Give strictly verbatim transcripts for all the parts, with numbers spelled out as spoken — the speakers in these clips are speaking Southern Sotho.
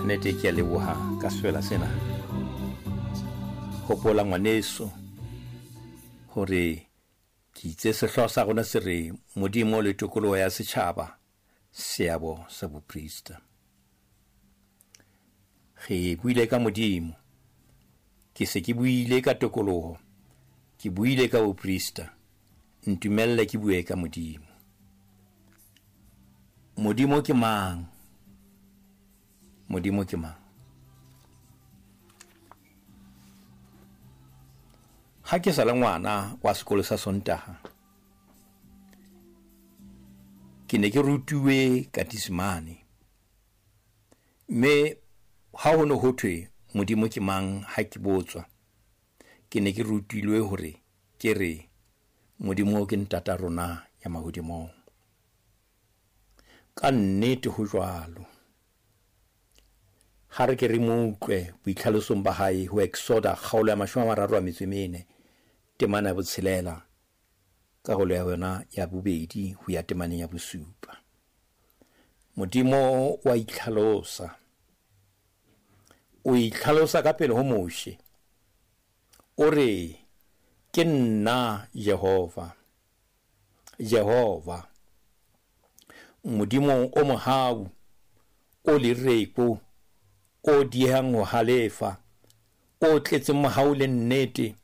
Nnete ke a leboha ka sefela sena. Hopola ngwaneso hore ke itse sehlooho sa rona se re Modimo le tokoloho ya setjhaba, seabo sa boprista. Re buile ka Modimo, ke se ke buile ka tokoloho, ke buile ka boprista. Ntumelle ke bue ka Modimo. Modimo ke mang? Modimo ke mang? Ha ke sa le ngwana wa sekolo sa Sontaha, ke ne ke rutuwe katisimane. Mme ha ho ne ho thwe Modimo ke mang ha ke botswa, ke ne ke rutilwe hore ke re Modimo ke ntata rona ya mahodimong. Ka nnete ho jwalo. Ha re ke re mo utlwe boitlhalosong ba hae ho Exoda kgaolo ya mashome a mararo a metso e mene, temana ya botshelela, karolo ya yona ya bobedi ho ya temaneng ya bosupa. Modimo wa itlhalosa. O itlhalosa ka pele ho Moshe. O re, ke nna Jehova. Jehova, Modimo o mohau, o lereko, o diehang ho halefa, o tletseng mohau le nnete,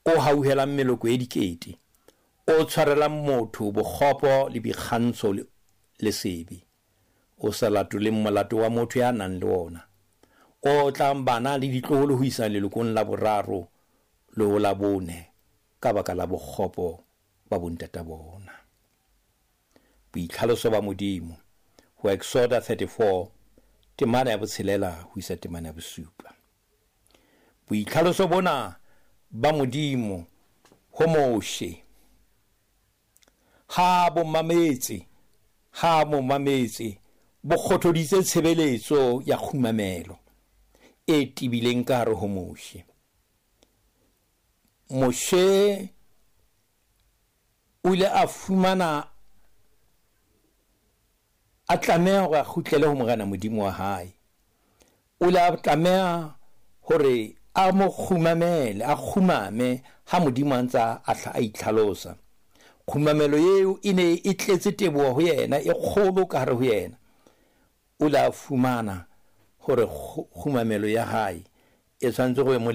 o hauhelang meloko e dikete, o tshwarelang motho bokgopo le boikgantsho le sebe, o sa latoleng molato wa motho ya nang le ona, o tlang bana le ditloholo ho isa lelokong la boraro le ho la bone ka baka la bokgopo ba bontata bona. Boitlhaloso ba Modimo ho Exoda thirty-four, temana ya botshelela ho isa temana ya bosupa. Boitlhaloso bona ba Modimo ho Moshe ha bo mametse, ha bo mametse, bo kgothoditse tshebeletso ya kgumamelo e tibileng ka hare ho Moshe. Moshe o ile a fumana a tlameha hore a kgutlele ho Morena Modimo wa hae. O ile a tlameha hore a mo kgumamele, a kgumame ha Modimo a ntse a a itlhalosa. Kgumamelo eo e ne e tletse teboho ho yena, e kgolo ka hare ho yena. O ile a fumana hore kgumamelo ya hae e tshwanetse go mo